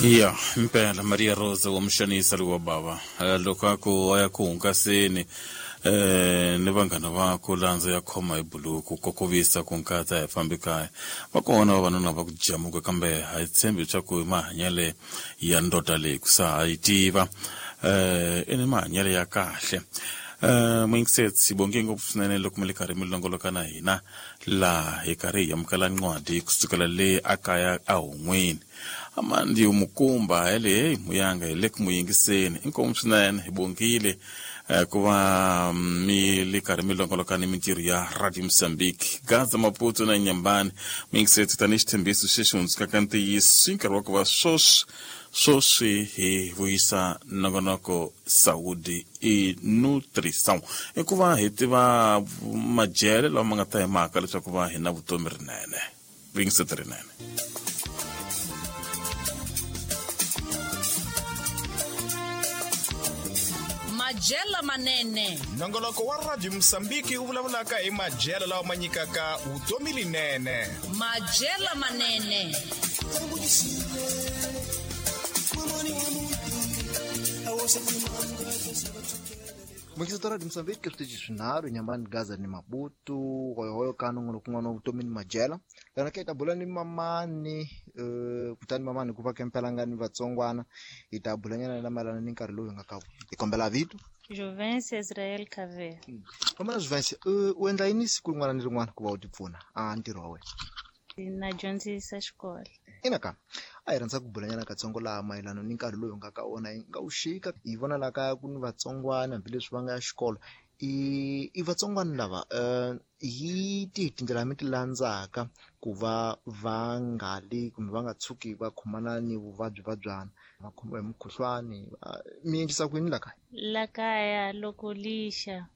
Ya impela Maria Rosa wa muxanisa lowu wa bava. Loko a ku a ya ku hungaseni ni vanghana va ku landza ya khoma hi buluku kokovisa ku nkatsa hi fambi kaya. Va kona vavanuna va ku jamuka kambe ha yi tshembi leswaku i mahanyele ya ndoda leyi ku sa ha yi tiva. I ni mahanyelo ya kahle. Muyingiseti bonge ngopfu swinene loko mi le karhi mi longoloka na hina laha hi karhi hi amukela ncwadi kusukela le a kaya a hon'weni. Amandi Mukumba hele hey muyanga hi le ku mu yingiseni. Inkomu swinene hi bongile ku va mi le karhi mi longoloka ni mintirho ya Radio Mozambique. Gaza Maputo na Nyambani muyingiseti tanihi xitshembiso xexi hundzukaka ntiyiso i nkarhi wa ku va swoswi swoswi hi vuyisa nongonoko Saúde e Nutrição. I ku va hi tiva madyele lawa ma nga ta hi maka leswaku va hi na vutomi rinene. Vuyingiseti rinene. Madyelo manene. Nongonoko wa Radio Mozambique wu vulavulaka hi madyelo lawa ma nyikaka vutomi linene. Madyelo manene. Muyingiseti wa Radio Mozambique switichi swinharhu Nyambani Gaza ni Maputo hoyohoyo ka nongonoko wun'wana wa vutomi ni madyelo lana ke hi ta bula ni mamani kutani mamani hikuva ke mpela nga ni vatsongwana hi ta bulanyana na mayelana ni nkarhi lowu hi nga ka hi kombela vito Juvence Israel Caver. Kombela Juvence u endla yini siku rin'wana ni rin'wana ku va u ti pfuna a ntirho wa wena? Na dyondzisa xikolo. Ina ka a hi rhandza ku bulanyana katsongo laha mayelana ni nkarhi lowu hi nga ka wona hi nga wu xika hi vona laha kaya ku ni vatsongwana hambileswi va nga ya xikolo i vatsongwana lava hi tihi tindlela mi ti landzaka ku va va nga li kumbe va nga tshuki va khomana ni vuvabyi vabyana va khomiwa hi mukhuhlwani mi endlisa ku yini la kaya? La kaya loko lixa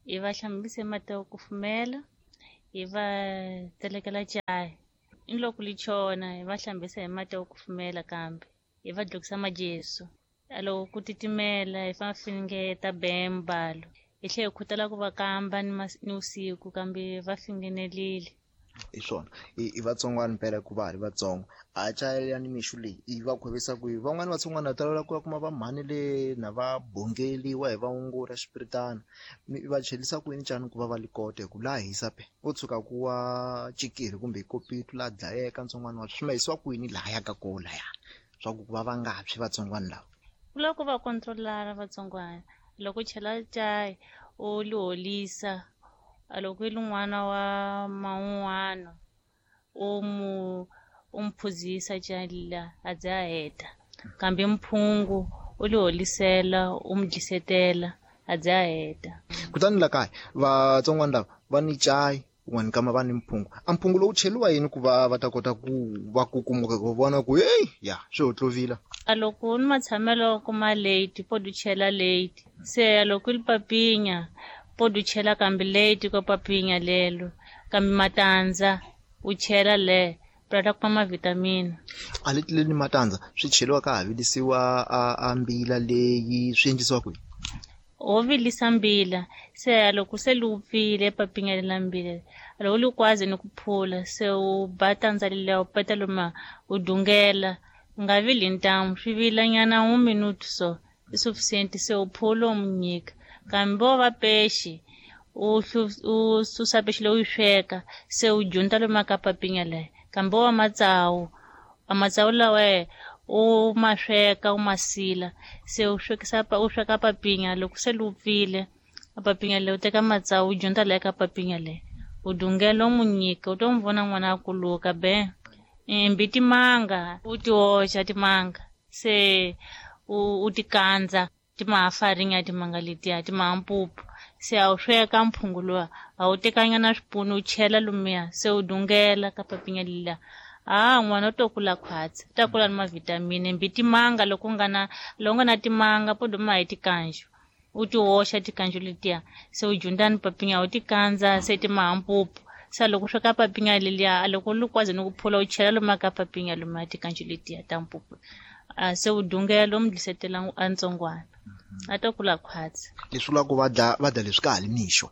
hi va hlambise mati yo kufumela hi va tselekela cayi ni loko li chona hi va hlambisa hi mati yo kufumela kambe hi va dlokisa majesu. Loko ku titimela hi fa finingeta bembalo hi tlhela hi khutala ku va kamba ni vusiku kambe va fingenelile. Hi swona i vatsongwana mpela hikuva ha ri vatsongo a chayela ni mixo leyi i va khwevisa ku van'wani vatsongwana va tolovela ku ya kuma va mhani le na va bongeliwa hi vaongori ya xipiritana mi va chelisa ku yini xana ku va va li kota hi ku laha hisa pe wo tshuka ku wa cikirhi kumbe hi kopito la dlayeka ntsongwana wa swi ma hisiwa ku yini lahaya ka koho laya swa ku va va nga tshwi vatsongwana lava? Ku lava ku va controlara vatsongwana loko u chela cayi u li holisa loko i ri n'wana wa man'wana u mu u mu phuzisa cayi liya a ze a heta kambe mphungu u li holisela u mu dlisetela a ze a heta. Kutani la kaya vatsongwana lava va ni cayi un'wana kama va ni mphungu a mphungu lowu cheliwa yini ku va va ta kota ku va kukumuka ku vona ku heyi ya swi hotlovila? A loko ni matshamelo kuma late po du chela late se loko li papinya po du chela kambe late ko papinya lelo kambe matandza u chela le pra ta kuma mavitamini. A leti leni matandza swi cheliwa ka ha vilisiwa a mbila leyi swi endlisiwa kwihi? Ho vilisa mbila se loko se li vupfile papinya lela mbila loko li kwazi ni ku phula se u ba tandza leliya u peta loma u dungela u nga vili ntamu swi vilanyana 1 minute so i sufficient se u phula u mu nyika kambe vo va pexi u susa pexi leyi u yi sweka se u junta loma ka papinya leyi kambe wa matsawu a matsawu lawa u ma sweka u ma sila se u swekisa u sweka papinya loko se li vupfile a papinya leyi u teka matsawu u junta leyi ka papinya leyi u dungela u mu nyika u to mu vona n'wana a kuluka be mbi timanga u ti oxa timanga se u ti kandza ti ma ha farinya timanga letiya ti ma ha mpupu se a wu sweka mphungu luwa a wu tekanyana swipunu u chela lumiya se u dungela ka papinya leliya a n'wana u to kula khwatsi u ta kula ni mavitamini mbi timanga loko u nga na loko nga na timanga po duma hi tikanju u ti oxa tikanju letiya se u junda ni papinya u ti kandza se ti ma ha mpupu se loko u sweka papinya leliya loko li kwazi ni ku phula u chela luma ka papinya luma tikanju letiya ta mpupu se u dungela u mu dlisetela a ntsongwana a ta kula khwatsi. Leswi vulaka ku va dya leswi ka ha li mixo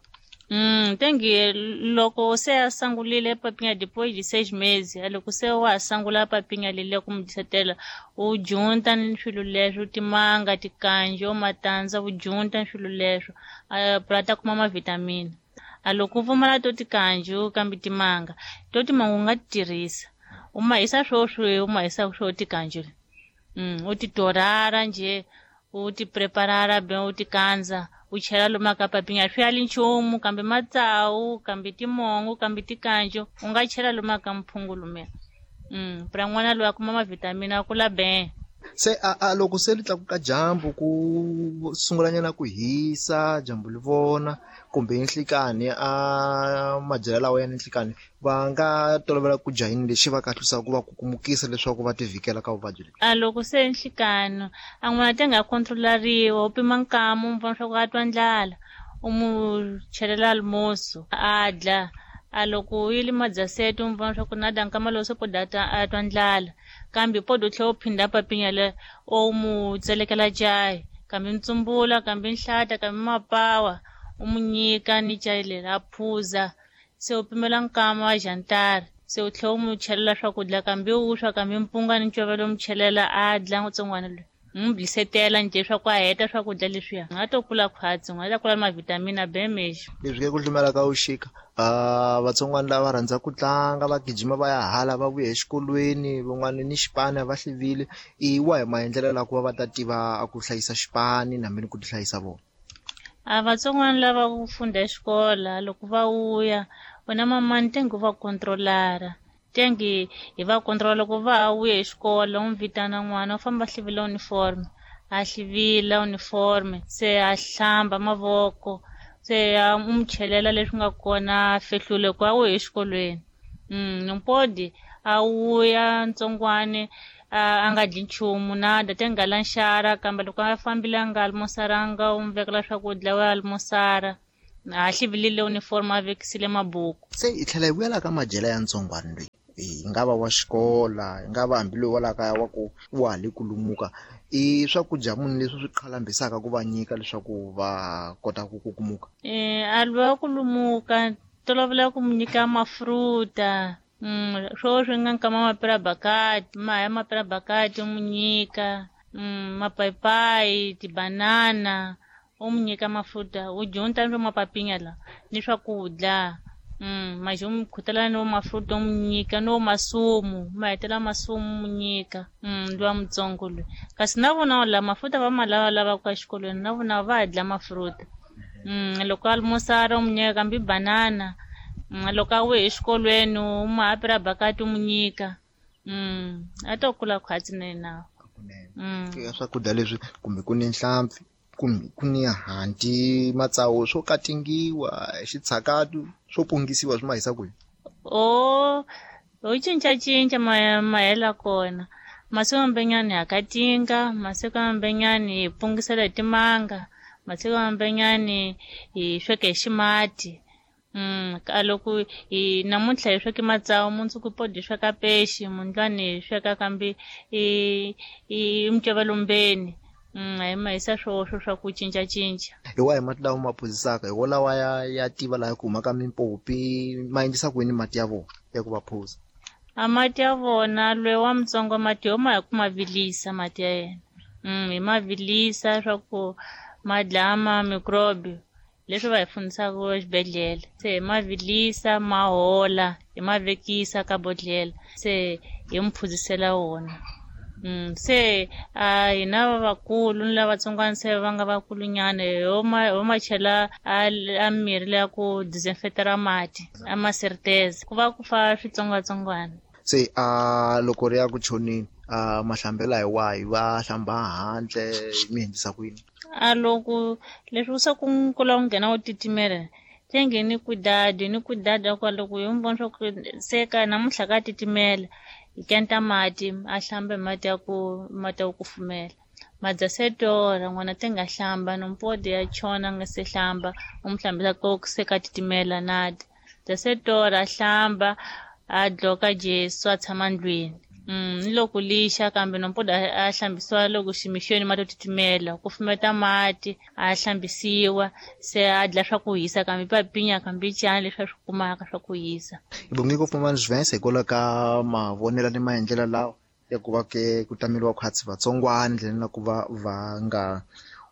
Tengi loko se a sangulile papinha depois de 6 meses, loko se wa sangula papinha leliya ku mu disetela, u junta ni swilo leswo, timanga, tikanjo, matandza, u junta ni swilo leswo, pra ta kuma mavitamina. A loko u pfumala to tikanjo kambe timanga, to timanga u nga ti tirhisa. U ma hisa swoswi, u ma hisa swo tikanjo. U ti torara nje, u ti preparara bem, u ti kandza, u chela lomu ka papinha. Swi ali nchumu kambe matsawu, kambe timongo, kambe tikanjo, u nga chela lomu ka mphungu lumiya. Pra n'wana loyi a kuma mavitamina a kula bem. Se a loko se li tlakuka dyambu ku sungulanyana ku hisa dyambu li vona kumbe nhlikani a madyelo lawa ya nhlikani va nga tolovela ku dya yini lexi va kahlusaka ku va kukumukisa leswaku va tivikela ka vuvabyi lebyi? A loko se nhlikani a n'wana te nga kontrolariwa, u pima nkamu, u vona swa ku a twa ndlala, u mu chelela almoço a dla. A loko yi li madzasete u vona swa ku na da nkama lowu se po da a twa ndlala, kambe po do tlhela u phinda papinha le o mu tselekela cayi, kambe ntsumbula, kambe nhlata, kambe mapawa, u mu nyika ni cayi leri a phuza. Se u pimela nkama wa jantar, se u tlhela u mu chelela swakudya, kambe vuswa, kambe mpunga ni ncovelo, u mu chelela a dla ntsongwana loyi. N'wi blisetela njhe swa ku a heta swakudya leswiya, a to kula khwatsi, a ta kula mavitamina B mexi. Leswi ke ku hlumela ka vuxika, vatsongwana lava rhandza ku tlanga, va gijima va ya hala, va vuya exikolweni, van'wana ni xipani va hlivile. I wahi maendlelo la ku va va ta tiva ku hlayisa xipani na mina ku ti hlayisa vona? A vatsongwana lava ku funda xikola loko va vuya, wena mamani tengi va kontrolara. Tengi hi va kontrola loko va vuya hi xikolo, u n'wi vitana n'wana, u famba a hlivila uniform, a hlivila uniform, se a hlamba mavoko, se a u mu chelela leswi nga kona, a fehlule ku a wuye exikolweni. Mpodi a wuya ntsongwane, a nga dyi nchumu nada, te nga la nxara, kambe loko a fambile a nga almosaranga, u n'wi vekela swakudya wa almosara. A hlivilile uniform, a vekisile mabuku. Se hi tlhela hi vuyela ka madyelo ya ntsongwana loyi, hi nga va wa xikola, hi nga va hambi loyi wa la kaya wa ku wa ha le ku lumuka, i swakudya muni leswi swi qhalambisaka ku va nyika leswaku va kota ku kukumuka? A lwa ku lumuka, tolovela ku mu nyika mafruta, swo swi nga nkama mapirabakati, ma ya mapirabakati u mu nyika, mapayipayi, tibanana, u mu nyika mafuta, u junta ni mapapinha la ni swakudya. Maji u mu khutela ni mafuta u mu nyika, ni masumu, ma hetela masumu mu nyika. Luwa mutsongo loyi. Kasi na vona la mafuta va ma lava lavaka exikolweni, na vona va dya mafruta. Loko a almosara u mu nyika kambe banana. Loko a wuye exikolweni u mu hapira bakati u mu nyika. A to kula khwatsi na yena. Swakudya leswi kumbe ku ni nhlampfi, kumbe ku ni hanti, matsawu swo katingiwa, xitshakatu swo pungisiwa swi ma hisa kwihi? O cincacinca mahela kona. Masiku mambenyani ha katinga, masiku mambenyani hi pungisela hi timanga, masiku mambenyani hi sweka hi ximati. Loko hi namuntlha hi sweke matsawu, mundzuku po hi sweka pexi, mundlwani hi sweka kambe i micovelo-mbeni. Hi ma hisa swoxo swa ku cincacinca. Hi wahi mati lawa ma phuzisaka? Hi wolawa ya tiva laha ku humaka mimpopi, ma endlisa ku yini mati ya vona ya ku va phuza? A mati ya vona, loyi wa mutsongo mati yo ma hi ku ma vilisa mati ya yena. Hi ma vilisa swa ku ma dlaya ma microbe leswi va hi fundisaka exibedhlele. Se hi ma vilisa, ma hola, hi ma vekisa ka bodlhela, se hi mu phuzisela wona. Se a hina vakulu ni lavatsongwana se va nga vakulunyana, ho ma chela a mirhi leya ku disinfectera mati, a ma serteza, ku va ku fa switsongwatsongwana. Se a loko ri ya ku choneni, a mahlambela hi wahi? Va hlamba handle, mi endlisa ku yini? A loko leswi se ku kula ku nghena u titimela, tenge ni kudadi, ni kudada kwa loko hi mu vona swa ku se ka namuntlha ka titimela, hi kenta mati, a hlamba hi mati ya ku mati ya ku kufumela. Madzasetora n'wana te nga hlamba, nompodi ya chona nga se hlamba, u mu hlambisa ku se ka titimela nada. Dzasetora a hlamba, a dloka Jesu a tshama ndlwini. Ni loko lixa kambe nompoda a hlambisiwa loko ximixweni mati yo titimela kufumeta mati a hlambisiwa se a dla swa ku hisa kambe papinya kambe cana leswi a swi kumaka swa ku hisa. Hi bonge ngopfu Mamani Juvence hikwalaho ka mavonelo ni maendlelo lawa ya ku va ke ku tameliwa khwatsi vatsongwana ndleleni na ku va va nga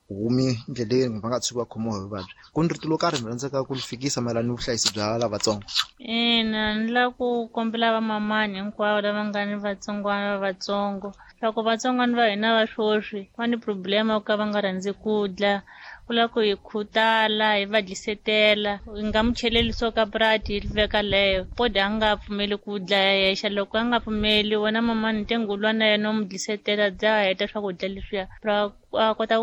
humi ndleleni va nga tshuki va khomiwa hi vuvabyi. Ku ni rito lo karhi mi rhandzaka ku li fikisa mayelana ni vuhlayisi bya lavatsongo? Ina, ni lava ku kombela vamamani hinkwavo lava nga ni vatsongwana va vatsongo swa ku vatsongwana va hina va swoswi va ni problema yo ka va nga rhandzi ku dla, ku lava ku hi khutala hi va dlisetela, hi nga mu cheleli swo ka prati hi veka leyo podi a nga pfumeli ku dla yexe, loko a nga pfumeli wena mamani ntengo lwa na yena u mu dlisetela dya heta swakudya leswiya ra a kota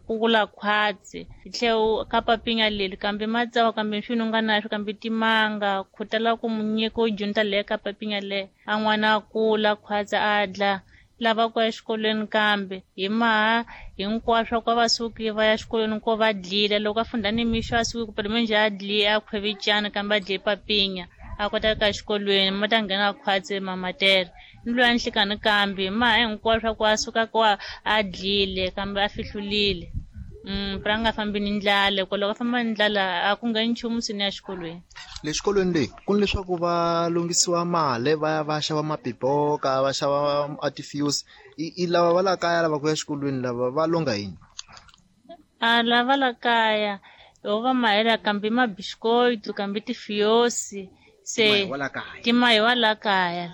ku kula khwatsi. Hi tlhe ka papinya leli kambe matsawa kambe swi u nga na swo kambe timanga khutala ku mu nyika u junta leyo ka papinya leyo a n'wana a kula khwatsi a dla lava ku ya exikolweni kambe hi maha hinkwaswo ku va suki va ya xikolweni ko va dlile loko a funda nimixo a suki kupela menjhe a dli a khwevicana kambe a dle papinya a kota ka xikolweni ma ta nghena khwatsi mamatere ni loyi a nhlikani kambe hi maha hinkwaswo ku a suka ko a dlile kambe a fihlulile. Pra nga fambi ni ndlala hikuva loko a famba ni ndlala a ku ngheni nchumu sini ya xikolweni. Le xikolweni leyi ku ni leswaku va lunghisiwa mali va ya va xava mapipoka va xava a ti-fuse i lava va la kaya lava ku ya xikolweni lava va longa yini? A lava la kaya ho va mahela kambe mabisikotu kambe tifiosi se timahiwa la kaya.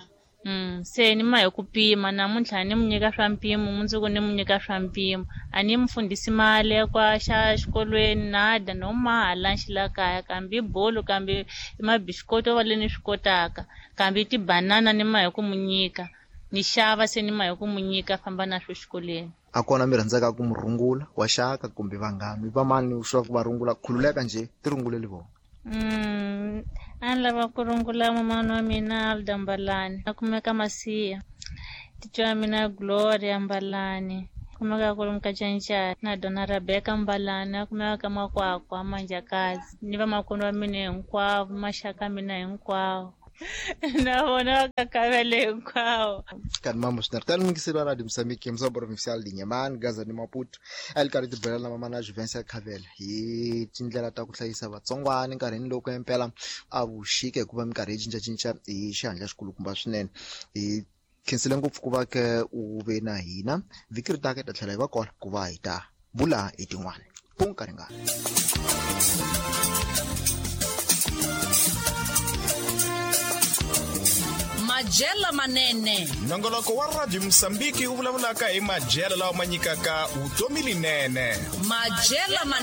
Se ni mahi ku pima namuntlha ni mu nyika swa mpimo mundzuku ni mu nyika swa mpimo a ni mu fundhisi mali ya kwa xa xikolweni na dya no maha lunch la kaya kambe i bolo kambe i mabisikoto va le ni swi kotaka kambe tibanana ni mahi ku mu nyika ni xava se ni mahi ku mu nyika famba na swo xikolweni. A kona mi rhandzaka ku mu rungula wa xaka kumbe vanghani va mani swa ku va rungula khululeka njhe ti runguleli vona? A ni lava ku rungula mamani wa mina Alda Mbalani a kumeka Masiya, titwa wa mina Gloria Mbalani kumeka kwalomu ka Cancani na dona Rebecca Mbalani a kumeka ka Makwakwa Manjakazi ni vamakwenu wa mina hinkwavo maxaka mina hinkwawo na vona va kakavele hinkwavo. Kanti mambo swinene tani mingiseri wa Radio Mozambique Musa Provincial de Inhambane Gaza ni Maputo a li karhi tibela na mamana Juventus ya Khavela hi tindlela ta ku hlayisa vatsongwana nkarhini loko impela a vuxika hikuva minkarhi yi cincacinca hi xihatla xikulukumba swinene. Hi khensile ngopfu ku va ke u ve na hina vhiki ri taka hi ta tlhela hi va kona ku va hi ta bula hi tin'wana punka ringana. Majela manene. Nongoloko wa Radio Mozambique wu vulavulaka hi majela lawa ma nyikaka vutomi linene. Majela manene.